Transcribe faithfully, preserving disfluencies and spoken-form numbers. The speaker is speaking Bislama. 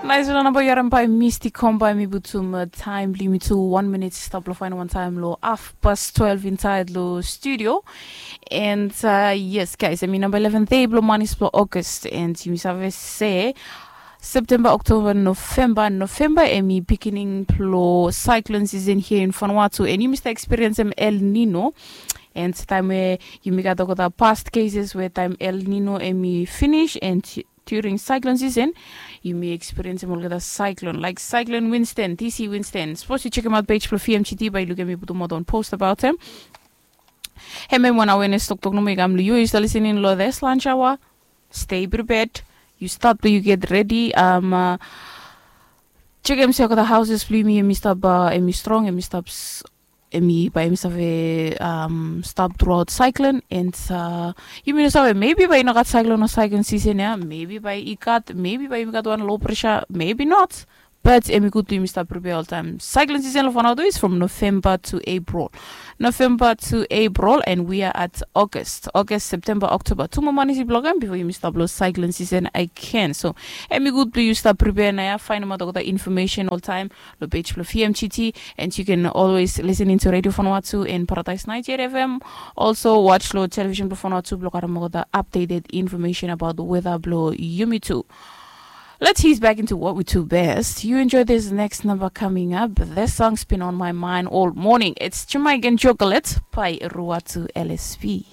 Nais wan namba yu harim bai Misty Comba, mi putum taim blong yumi tu wan minit stap long fain wan taim long half past twelve inside long studio. And uh, yes guys, I mean number eleven day blong manis blong August, and yumi save se September, October, November. November emi beginning blong cyclone season here in Vanuatu, and yumi start experience em El Nino. And taim we yumi gat olgeta past cases we taim El Nino emi finish and during cyclone season, yumi experience em olgeta cyclone like cyclone Winston, DC Winston. Suppose you check him out page for F M G T by look at me putum out on post about him. Hemem wan awareness toktok nomo i kam long yu, yu stap listening long this lunch hour. Stay prepared. You start, you get ready. Um, uh, check em se olgeta houses blong yumi em i stap, uh, em i strong, em i stap s- em i bai em i save um, stop throughout cyclone. And uh, yumi no save, maybe bai i no gat cyclone o cyclone season ya, maybe bai i gat, maybe bai yumi gat wan low pressure, maybe not. But em i gud blong yumi stap prepare oltaim. Cyclone season long Vanuatu is from November to April. November to April, and we are at August. August, September, October. Tu moa manis i blok em before yumi stap long cyclone season again. So em i gud blong yu stap prepare na ya, faindaot olgeta information oltaim long page blong F M G T, and you can always listen into Radio Vanuatu and Paradise ninety-eight F M. Also watch long television blong Vanuatu blong harim olgeta updated information about weather blong yumi tu. Let's ease back into what we do best. You enjoy this next number coming up. This song's been on my mind all morning. It's Jamaican Chocolate by Ruatu L S P.